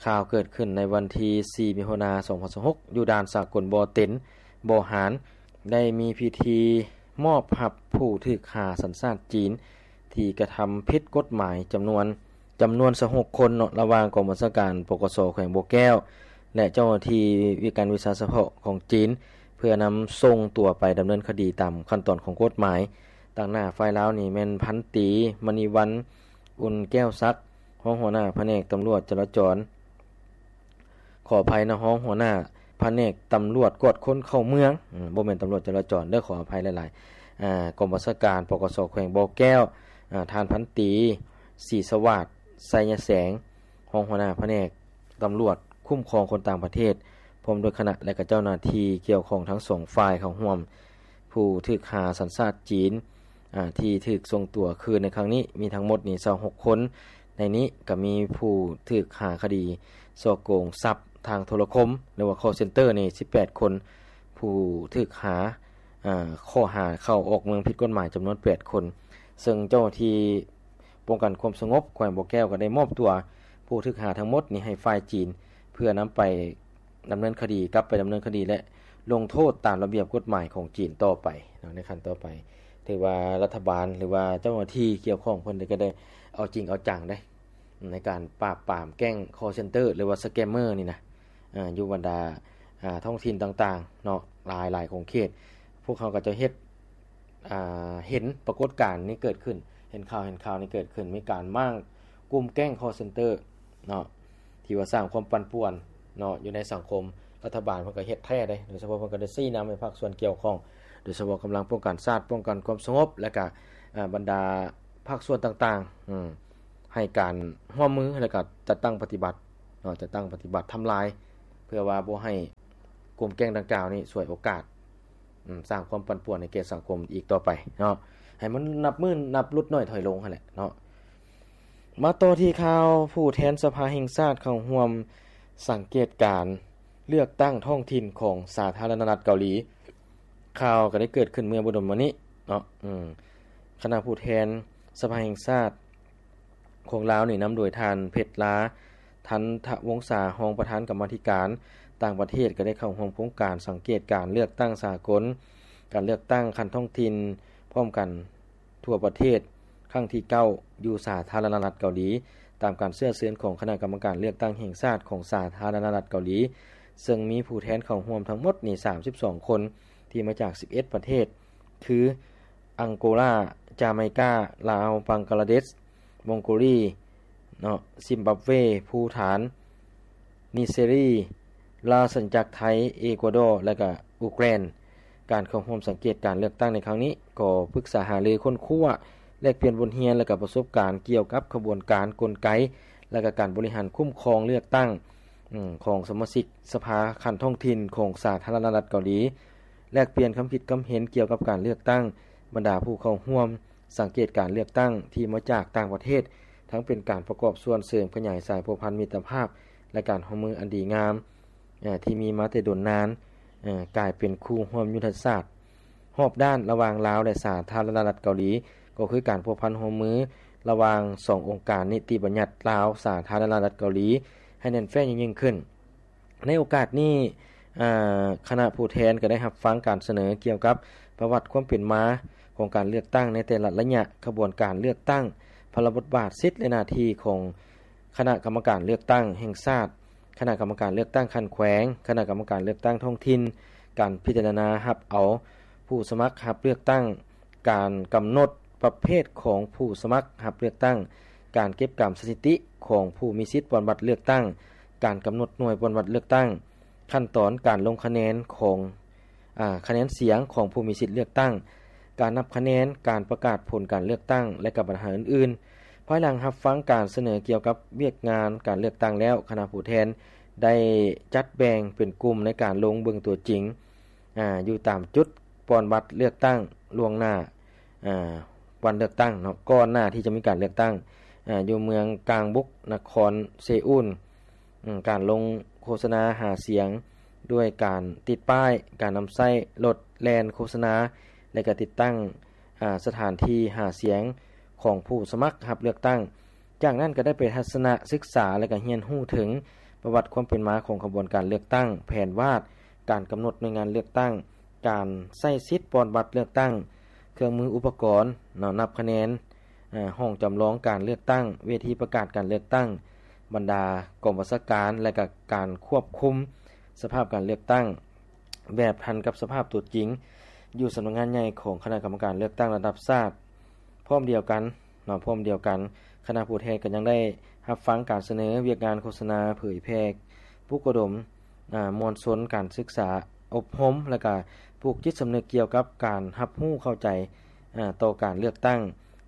ຂ່າວເກີດຂຶ້ນໃນວັນທີສີ່ ມິຖຸນາ ສອງພັນຊາວຫົກ ຢູ່ດ່ານສາກົນບໍ່ເຕັນ ບໍ່ຫານ ໄດ້ມີພິທີມອບຮັບຜູ້ຖືກຫາສັນຊາດຈີນ ທີ່ກະທຳຜິດກົດໝາຍຈຳນວນ ຈຳນວນຊາວຫົກຄົນເນາະ ລະຫວ່າງກອງບັນຊາການ ປກສ ແຂວງບໍ່ແກ້ວ ແລະ ເຈົ້າໜ້າທີ່ວິການວິຊາສະເພາະຂອງຈີນ ເພື່ອນຳສົ່ງຕົວໄປດຳເນີນຄະດີຕາມຂັ້ນຕອນຂອງກົດໝາຍ. ຕາງໜ້າຝ່າຍລາວນີ້ແມ່ນພັນຕີ ມະນີວັນ ອຸ່ນແກ້ວສັກ ຮອງຫົວໜ້າພະແນກຕຳຫຼວດຈະລາຈອນ ຂໍອະໄພນະ ຮອງຫົວໜ້າພະແນກຕຳຫຼວດກວດຄົນເຂົ້າເມືອງ ອືມ ບໍ່ແມ່ນຕຳຫຼວດຈະລາຈອນເດີ ຂໍອະໄພຫຼາຍໆ ອາ ກອງບັນຊາການ ປກສ ແຂວງບໍ່ແກ້ວ ອາ ທ່ານພັນຕີ ສີສະຫວາດ ໄຊຍະແສງ ຮອງຫົວໜ້າພະແນກຕຳຫຼວດຄຸ້ມຄອງຄົນຕ່າງປະເທດ ພ້ອມດ້ວຍຄະນະ ແລະ ກະເຈົ້າໜ້າທີ່ກ່ຽວຂ້ອງທັງສອງຝ່າຍເຂົ້າຮ່ວມ. ຜູ້ຖືກຫາສັນຊາດຈີນ ອາ ທີ່ຖືກສົ່ງຕົວຄືນໃນຄັ້ງນີ້ ມີທັງໝົດນີ້ຊາວຫົກຄົນ. ໃນນີ້ກໍມີຜູ້ຖືກຫາຄະດີສໍ້ໂກງຊັບທາງໂທລະຄົມ ຫຼືວ່າຄໍເຊັນເຕີນີ້ສິບແປດຄົນ, ຜູ້ຖືກຫາ ອາ ຂໍ້ຫາເຂົ້າອອກເມືອງຜິດກົດໝາຍຈຳນວນແປດຄົນ, ເຊິ່ງເຈົ້າໜ້າທີ່ປ້ອງກັນຄວາມສະຫງົບແຂວງບໍ່ແກ້ວກໍໄດ້ມອບຕົວຜູ້ຖືກຫາທັງໝົດນີ້ໃຫ້ຝ່າຍຈີນ ເພື່ອນຳໄປ ດຳເນີນຄະດີ ກັບໄປດຳເນີນຄະດີ ແລະ ລົງໂທດຕາມລະບຽບກົດໝາຍຂອງຈີນຕໍ່ໄປເນາະ. ໃນຂັ້ນຕໍ່ໄປ ຖືວ່າລັດຖະບານ ຫຼືວ່າເຈົ້າໜ້າທີ່ກ່ຽວຂ້ອງເພິ່ນກໍໄດ້ເອົາຈິງເອົາຈັງເດ້ ໃນການປາບປາມແກ້ງຄໍເຊັນເຕີ ຫຼືວ່າສະແກມເມີນີ້ນະ ອາ ຢູ່ບັນດາ ອາ ທ້ອງຖິ່ນຕ່າງໆເນາະ ຫຼາຍໆຂົງເຂດ. ພວກເຮົາກໍຈະເຮັດ ອາ ເຫັນປາກົດການນີ້ເກີດຂຶ້ນ ເຫັນຂ່າວ ເຫັນຂ່າວນີ້ເກີດຂຶ້ນ ມີການມ້າງກຸ່ມແກ້ງຄໍເຊັນເຕີເນາະ ທີ່ວ່າສ້າງຄວາມປັ່ນປ່ວນເນາະ ຢູ່ໃນສັງຄົມ. ລັດຖະບານເພິ່ນກໍເຮັດແທ້ເດ້ ໂດຍສະເພາະເພິ່ນກໍໄດ້ຊີ້ນຳໃຫ້ພາກສ່ວນກ່ຽວຂ້ອງ ໂດຍສະເພາະກຳລັງປ້ອງກັນຊາດ ປ້ອງກັນຄວາມສະຫງົບ ແລະ ກະ ອາ ບັນດາພາກສ່ວນຕ່າງໆ ອືມ ໃຫ້ການຮ່ວມມື ແລະ ກະຈັດຕັ້ງປະຕິບັດເນາະ ຈັດຕັ້ງປະຕິບັດທຳລາຍ ເພື່ອວ່າບໍ່ໃຫ້ກຸ່ມແກ້ງດັ່ງກ່າວນີ້ສວຍໂອກາດ ອືມ ສ້າງຄວາມປັ່ນປ່ວນໃຫ້ແກ່ສັງຄົມອີກຕໍ່ໄປເນາະ ໃຫ້ມັນນັບມື້ນັບຫຼຸດນ້ອຍຖອຍລົງຫັ້ນແຫຼະເນາະ. ມາຕໍ່ທີ່ຂ່າວ ຜູ້ແທນສະພາແຫ່ງຊາດເຂົ້າຮ່ວມສັງເກດການເລືອກຕັ້ງທ້ອງຖິ່ນຂອງສາທາລະນະລັດເກົາຫຼີ. ຂ່າວກໍໄດ້ເກີດຂຶ້ນເມື່ອບໍ່ດົນມານີ້ເນາະ ອືມ ຄະນະຜູ້ແທນສະພາແຫ່ງຊາດ ຂອງລາວນີ້ ນຳໂດຍທ່ານ ເພັດລາ ທັນທະວົງສາ ຮອງປະທານກຳມາທິການຕ່າງປະເທດ ກໍໄດ້ເຂົ້າຮ່ວມໂຄງການສັງເກດການເລືອກຕັ້ງສາກົນ ການເລືອກຕັ້ງຂັ້ນທ້ອງຖິ່ນພ້ອມກັນທົ່ວປະເທດ ຄັ້ງທີເກົ້າ ຢູ່ສາທາລະນະລັດເກົາຫຼີ ຕາມການເຊື້ອເຊີນຂອງຄະນະກຳມະການເລືອກຕັ້ງແຫ່ງຊາດຂອງສາທາລະນະລັດເກົາຫຼີ ເຊິ່ງມີຜູ້ແທນເຂົ້າຮ່ວມທັງໝົດນີ້ ສາມສິບສອງຄົນ ທີ່ມາຈາກ ສິບເອັດປະເທດ ຄື ອັງໂກລາ, ຈາໄມກາ, ລາວ, ບັງກາລາເດດ, ມົງໂກລີເນາະ, ຊິມບັບເວ, ພູຖານ, ນິເຊຣີ, ລາຊະອານາຈັກໄທ, ເອກົວດໍ ແລະ ກະອູກຣານ. ການເຂົ້າຮ່ວມສັງເກດການເລືອກຕັ້ງໃນຄັ້ງນີ້ ກໍປຶກສາຫາລື, ຄົ້ນຄວ້າ, ແລກປ່ຽນບົດຮຽນ ແລະ ກະປະສົບການກ່ຽວກັບຂະບວນການ, ກົນໄກ ແລະ ກະການບໍລິຫານຄຸ້ມຄອງເລືອກຕັ້ງ ອືມ ຂອງສະມາຊິກສະພາຂັ້ນທ້ອງຖິ່ນຂອງສາທາລະນະລັດເກົາຫຼີ, ແລກປ່ຽນຄຳຄິດຄຳເຫັນກ່ຽວກັບການເລືອກຕັ້ງ. ບັນດາຜູ້ເຂົ້າຮ່ວມສັງເກດການເລືອກຕັ້ງທີ່ມາຈາກຕ່າງປະເທດ ທັງເປັນການປະກອບສ່ວນເສີມຂະຫຍາຍສາຍພົວພັນມິດຕະພາບ ແລະ ການຮ່ວມມືອັນດີງາມ ເອີ່ ທີ່ມີມາແຕ່ດົນນານ ເອີ່ ກາຍເປັນຄູ່ຮ່ວມຍຸດທະສາດ. ຮອບດ້ານລະຫວ່າງລາວ ແລະ ສາທາລະນະລັດເກົາຫຼີ ກໍຄືການພົວພັນຮ່ວມມືລະຫວ່າງສອງອົງການນິຕິບັນຍັດລາວ-ສາທາລະນະລັດເກົາຫຼີ ໃຫ້ແໜ້ນແຟ້ນຍິ່ງໆຂຶ້ນ. ໃນໂອກາດນີ້ ເອີ່ ຄະນະຜູ້ແທນກໍໄດ້ຮັບຟັງການສະເໜີກ່ຽວກັບປະຫວັດຄວາມເປັນມາຂອງການເລືອກຕັ້ງໃນແຕ່ລະໄລຍະຂະບວນການເລືອກຕັ້ງ, ພາລະບົດບາດ, ສິດ ແລະ ໜ້າທີ່ຂອງຄະນະກຳມະການເລືອກຕັ້ງແຫ່ງຊາດ, ຄະນະກຳມະການເລືອກຕັ້ງຂັ້ນແຂວງ, ຄະນະກຳມະການເລືອກຕັ້ງທ້ອງຖິ່ນ, ການພິຈາລະນາຮັບເອົາຜູ້ສະໝັກຮັບເລືອກຕັ້ງ, ການກຳນົດປະເພດຂອງຜູ້ສະໝັກຮັບເລືອກຕັ້ງ, ການເກັບກຳສະຖິຕິຂອງຜູ້ມີສິດປ່ອນບັດເລືອກຕັ້ງ, ການກຳນົດໜ່ວຍປະຕິບັດເລືອກຕັ້ງ, ຂັ້ນຕອນການລົງຄະແນນຂອງ ອາ ຄະແນນສຽງຂອງຜູ້ມີສິດເລືອກຕັ້ງ, ການນັບຄະແນນ, ການປະກາດຜົນການເລືອກຕັ້ງ ແລະ ກັບບັນຫາອື່ນໆ. ພາຍຫຼັງຮັບຟັງການສະເໜີກ່ຽວກັບວຽກງານການເລືອກຕັ້ງແລ້ວ, ຄະນະຜູ້ແທນໄດ້ຈັດແບ່ງເປັນກຸ່ມໃນການລົງເບິ່ງຕົວຈິງ ອາ ຢູ່ຕາມຈຸດປ່ອນບັດເລືອກຕັ້ງລ່ວງໜ້າ ອາ ວັນເລືອກຕັ້ງເນາະ, ກ່ອນໜ້າທີ່ຈະມີການເລືອກຕັ້ງ ອາ ຢູ່ເມືອງກາງບຸກ ນະຄອນເຊອູນ. ອາ ການລົງໂຄສະນາຫາສຽງດ້ວຍການຕິດປ້າຍ, ການນຳໃຊ້ລົດແລ່ນໂຄສະນາ ແລະ ກະຕິດຕັ້ງ ອາ ສະຖານທີ່ຫາສຽງຂອງຜູ້ສະໝັກຮັບເລືອກຕັ້ງ. ຈາກນັ້ນກໍໄດ້ໄປທັດສະນະສຶກສາ ແລະ ກໍຮຽນຮູ້ເຖິງປະຫວັດຄວາມເປັນມາຂອງຂະບວນການເລືອກຕັ້ງ, ແຜນວາດ, ການກຳນົດໜ່ວຍງານເລືອກຕັ້ງ, ການໃຊ້ສິດປ່ອນບັດເລືອກຕັ້ງ, ເຄື່ອງມືອຸປະກອນເນາະ ນັບຄະແນນ, ອາ ຫ້ອງຈຳລອງການເລືອກຕັ້ງ, ເວທີປະກາດການເລືອກຕັ້ງ, ບັນດາກອງບັນຊາການ ແລະ ກະການຄວບຄຸມສະພາບການເລືອກຕັ້ງ ແບບທັນກັບສະພາບຕົວຈິງ ຢູ່ສຳນັກງານໃຫຍ່ຂອງຄະນະກຳມະການເລືອກຕັ້ງລະດັບຊາດ. ພ້ອມດຽວກັນເນາະ, ພ້ອມດຽວກັນ ຄະນະຜູ້ແທນກໍຍັງໄດ້ຮັບຟັງການສະເໜີວຽກງານໂຄສະນາເຜີຍແຜ່, ປຸກອະດົມ ອາ ມວນຊົນ, ການສຶກສາອົບຮົມ ແລະ ກະປູກຈິດສຳນຶກກ່ຽວກັບການຮັບຮູ້ເຂົ້າໃຈ ອາ ຕໍ່ການເລືອກຕັ້ງ,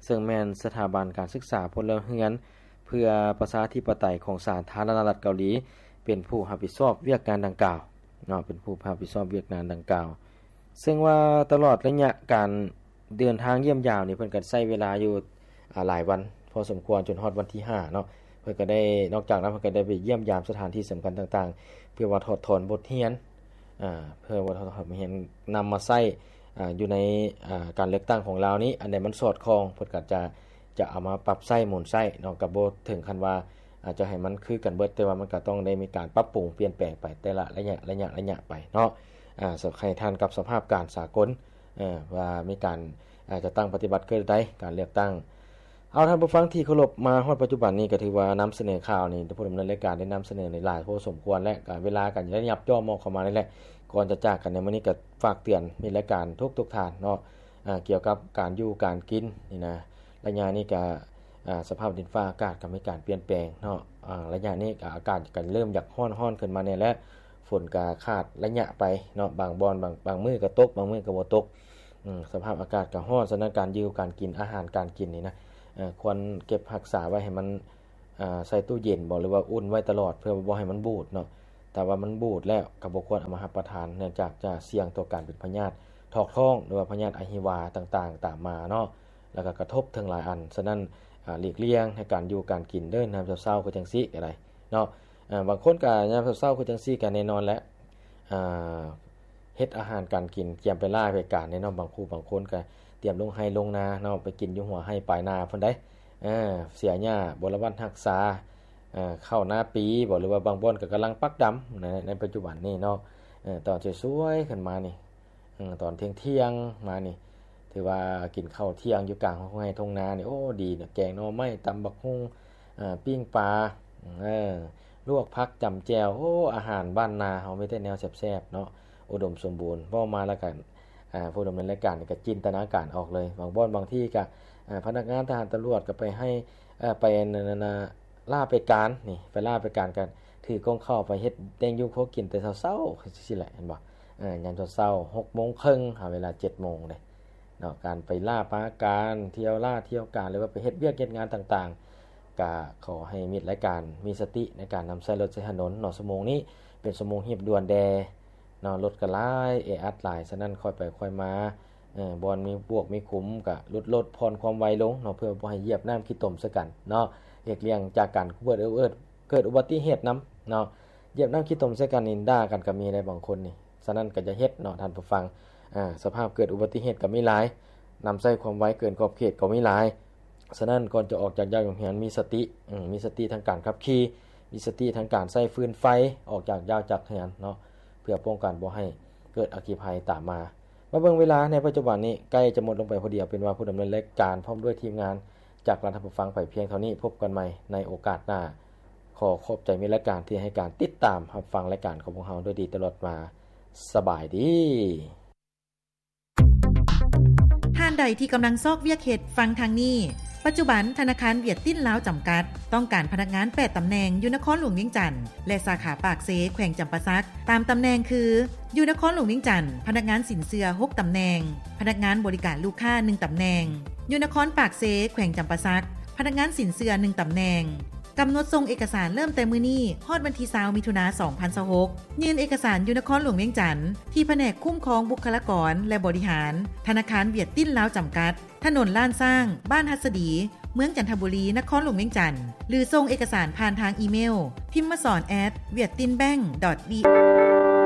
ເຊິ່ງແມ່ນສະຖາບັນການສຶກສາພົນລະເຮືອນ ເພື່ອປະຊາທິປະໄຕຂອງສາທາລະນະລັດເກົາຫຼີ ເປັນຜູ້ຮັບຜິດຊອບວຽກງານດັ່ງກ່າວເນາະ, ເປັນຜູ້ຮັບຜິດຊອບວຽກງານດັ່ງກ່າວ. ເຊິ່ງວ່າຕະຫຼອດໄລຍະການເດີນທາງຢ້ຽມຢາມນີ້ ເພິ່ນກໍໃຊ້ເວລາຢູ່ ອາ ຫຼາຍວັນພໍສົມຄວນ ຈົນຮອດວັນທີຫ້າເນາະ. ເພິ່ນກໍໄດ້ ນອກຈາກນັ້ນ ເພິ່ນກໍໄດ້ໄປຢ້ຽມຢາມສະຖານທີ່ສຳຄັນຕ່າງໆ ເພື່ອວ່າຖອດຖອນບົດຮຽນ ອາ ເພື່ອວ່າຖອດຖອນບົດຮຽນ ນຳມາໃຊ້ ອາ ຢູ່ໃນ ອາ ການເລືອກຕັ້ງຂອງລາວນີ້ ອັນໃດມັນສອດຄ່ອງ ເພິ່ນກໍຈະ ຈະເອົາມາປັບໃຊ້ໝູນໃຊ້ເນາະ, ກໍບໍ່ເຖິງຂັ້ນວ່າ ອາ ຈະໃຫ້ມັນຄືກັນເບິດ, ແຕ່ວ່າມັນກໍຕ້ອງໄດ້ມີການປັບປຸງປ່ຽນແປງໄປແຕ່ລະໄລຍະ ໄລຍະ ໄລຍະໄປເນາະ. ອາ ໃຫ້ທັນກັບສະພາບການສາກົນ ເອີ ວ່າມີການ ອາ ຈັດຕັ້ງປະຕິບັດຄືໃດການເລືອກຕັ້ງ. ເອົາ ທ່ານຜູ້ຟັງທີ່ເຄົາລົບ, ມາຮອດປັດຈຸບັນນີ້ກໍຖືວ່ານຳສະເໜີຂ່າວນີ້ ຜູ້ດຳເນີນລາຍການໄດ້ນຳສະເໜີຫຼາຍພໍສົມຄວນ ແລະ ການເວລາກໍໄດ້ຫຍັບຫຍໍ້ມອອກເຂົ້າມານີ້ແຫຼະ. ກ່ອນຈະຈາກກັນໃນມື້ນີ້ ກໍຝາກເຕືອນມິດລາຍການທຸກໆທ່ານເນາະ ອາ ກ່ຽວກັບການຢູ່ການກິນນີ້ນະ. ໄລຍະນີ້ກໍ ອາ ສະພາບດິນຟ້າອາກາດກໍມີການປ່ຽນແປງເນາະ, ອາ ໄລຍະນີ້ກໍອາກາດກໍເລີ່ມຢາກຮ້ອນໆຂຶ້ນມາແດ່ແລ້ວ, ຝົນກໍຂາດໄລຍະໄປເນາະ, ບາງບ່ອນ ບາງ ບາງມື້ກໍຕົກ ບາງມື້ກໍບໍ່ຕົກ. ອາ ສະພາບອາກາດກໍຮ້ອນ, ສະນັ້ນການຢູ່ການກິນ ອາຫານການກິນນີ້ນະ ອາ ຄວນເກັບຮັກສາໄວ້ໃຫ້ມັນ ອາ ໃສ່ຕູ້ເຢັນບໍ ຫຼືວ່າອຸ່ນໄວ້ຕະຫຼອດ ເພື່ອບໍ່ໃຫ້ມັນບູດເນາະ. ຖ້າວ່າມັນບູດແລ້ວກໍບໍ່ຄວນເອົາມາຮັບປະທານ ເນື່ອງຈາກຈະສ່ຽງຕໍ່ການເປັນພະຍາດຖອກທ້ອງ ຫຼືວ່າພະຍາດອະຫິວາຕ່າງໆຕາມມາເນາະ, ແລ້ວກໍກະທົບເຖິງຫຼາຍອັນ. ສະນັ້ນ ອາ ຫຼີກລ່ຽງໃນການຢູ່ການກິນເດີ ຍາມເຊົ້າໆຄືຈັ່ງຊີ້ກໍໄດ້ເນາະ. ອາ ບາງຄົນກໍຍາມເຊົ້າໆຄືຈັ່ງຊີ້ກໍແນ່ນອນແຫຼະ ອາ ເຮັດອາຫານການກິນ ກຽມໄປລ້າໄປການເດ້ເນາະ. ບາງຄູ່ບາງຄົນກໍຕຽມລົງໄຮ່ລົງນາເນາະ, ໄປກິນຢູ່ຫົວໄຮ່ປາຍນາພຸ້ນໃດ໋. ເອີ ເສຍຫຍ້າບໍລະວັດຮັກສາ ເອີ ເຂົ້ານາປີບໍ ຫຼືວ່າບາງບ່ອນກໍກຳລັງປັກດຳໃນ ໃນປັດຈຸບັນນີ້ເນາະ. ເອີ ຕອນສວຍໆຂຶ້ນມານີ້ ເອີ ຕອນທ່ຽງໆມານີ້ ຖືວ່າກິນເຂົ້າທ່ຽງຢູ່ກາງທົ່ງໄຮ່ທົ່ງນານີ້ ໂອ້ ດີເນາະ, ແກງໜໍ່ໄມ້ ຕຳບັກຫຸ່ງ ເອີ ປີ້ງປາ ເອີ ລວກຜັກ ຈ້ຳແຈ່ວ. ໂອ້ ອາຫານບ້ານນາເຮົາມີແຕ່ແນວແຊບໆເນາະ ອຸດົມສົມບູນ. ເວົ້າມາແລ້ວກໍ ອາ ຜູ້ດຳເນີນລາຍການນີ້ກໍຈິນຕະນາການອອກເລີຍ. ບາງບ່ອນບາງທີ່ກໍ ອາ ພະນັກງານທະຫານຕຳຫຼວດກໍໄປໃຫ້ ເອີ ໄປອັນນັ້ນນະ ລາໄປການນີ້ ໄປລາໄປການ ກໍຖືກົງເຂົ້າໄປເຮັດແຕ່ງຢູ່ຄົວກິນແຕ່ເຊົ້າໆ ຈັ່ງຊີ້ແຫຼະ ເຫັນບໍ່? ເອີ ຍາມເຊົ້າໆ ຫົກໂມງເຄິ່ງ ຫາເວລາເຈັດໂມງເດ້ເນາະ. ການໄປລາປາການ ທ່ຽວລາທ່ຽວການ ຫຼືວ່າໄປເຮັດວຽກເຮັດງານຕ່າງໆ ກະຂໍໃຫ້ມິດລາຍການມີສະຕິໃນການນຳໃຊ້ລົດໃຊ້ຖະໜົນເນາະ. ຊົ່ວໂມງນີ້ເປັນຊົ່ວໂມງຮີບດ່ວນແດ່ເນາະ, ລົດກໍຫຼາຍ ແອອັດຫຼາຍ, ສະນັ້ນຄ່ອຍໄປຄ່ອຍມາ ເອີ ບ່ອນມີບວກມີຂຸມກະຫຼຸດລົດຜ່ອນຄວາມໄວລົງເນາະ ເພື່ອບໍ່ໃຫ້ຢຽບນ້ຳຂີ້ຕົມໃສ່ກັນເນາະ. ຫຼີກລ່ຽງຈາກການເກີດ ເກີດອຸບັດຕິເຫດນຳເນາະ. ຢຽບນ້ຳຂີ້ຕົມໃສ່ກັນນີ້ ດ່າກັນກໍມີໄດ໋ບາງຄົນນີ້. ສະນັ້ນກໍຢ່າເຮັດເນາະທ່ານຜູ້ຟັງ. ອາ ສະພາບເກີດອຸບັດຕິເຫດກໍມີຫຼາຍ, ນຳໃຊ້ຄວາມໄວເກີນຂອບເຂດກໍມີຫຼາຍ. ສະນັ້ນກ່ອນຈະອອກຈາກຢ້ານໂຮງຮຽນ ມີສະຕິ ເອີ ມີສະຕິທາງການຂັບຂີ່, ມີສະຕິທາງການໃຊ້ຟືນໄຟ ອອກຈາກຢ້ານຈາກເຮືອນເນາະ ເພື່ອປ້ອງກັນບໍ່ໃຫ້ເກີດອັກຄີໄພຕາມມາ. ມາເບິ່ງເວລາໃນປັດຈຸບັນນີ້ ໃກ້ຈະໝົດລົງໄປພໍດີ. ເອົາເປັນວ່າຜູ້ດຳເນີນລາຍການພ້ອມດ້ວຍທີມງານຈາກລາທ່ານຜູ້ຟັງໄປພຽງເທົ່ານີ້. ພົບກັນໃໝ່ໃນໂອກາດໜ້າ. ຂໍຂອບໃຈມິດລາຍການທີ່ໃຫ້ການຕິດຕາມຮັບຟັງລາຍການຂອງພວກເຮົາດ້ວຍດີຕະຫຼອດມາ. ສະບາຍດີ. ທ່ານໃດທີ່ກຳລັງຊອກວຽກເຮັດ, ຟັງທາງນີ້. ປັດຈຸບັນ ທະນາຄານຫວຽດຕິນລາວຈຳກັດ ຕ້ອງການພະນັກງານ ແປດຕຳແໜ່ງ ຢູ່ນະຄອນຫຼວງວຽງຈັນ ແລະ ສາຂາປາກເຊ ແຂວງຈຳປາສັກ ຕາມຕຳແໜ່ງຄື ຢູ່ນະຄອນຫຼວງວຽງຈັນ ພະນັກງານສິນເຊື່ອ ຫົກຕຳແໜ່ງ, ພະນັກງານບໍລິການລູກຄ້າ ໜຶ່ງຕຳແໜ່ງ, ຢູ່ນະຄອນປາກເຊ ແຂວງຈຳປາສັກ ພະນັກງານສິນເຊື່ອ ໜຶ່ງຕຳແໜ່ງ. ກຳນົດສົ່ງເອກະສານເລີ່ມແຕ່ມື້ນີ້ ຮອດວັນທີ ຊາວ ມິຖຸນາ ສອງພັນຊາວຫົກ ຍື່ນເອກະສານຢູ່ນະຄອນຫຼວງວຽງຈັນ ທີ່ພະແນກຄຸ້ມຄອງບຸກຄະລາກອນ ແລະ ບໍລິຫານ ທະນາຄານຫວຽດຕິນລາວຈຳກັດ ຖະໜົນລ້ານຊ້າງ ບ້ານຫັດສະດີ ເມືອງຈັນທະບູລີ ນະຄອນຫຼວງວຽງຈັນ ຫຼື ສົ່ງເອກະສານຜ່ານທາງອີເມວ ພິມມະສອນ ແອັດ ຫວຽດຕິນແບັງ ດອດ ບີ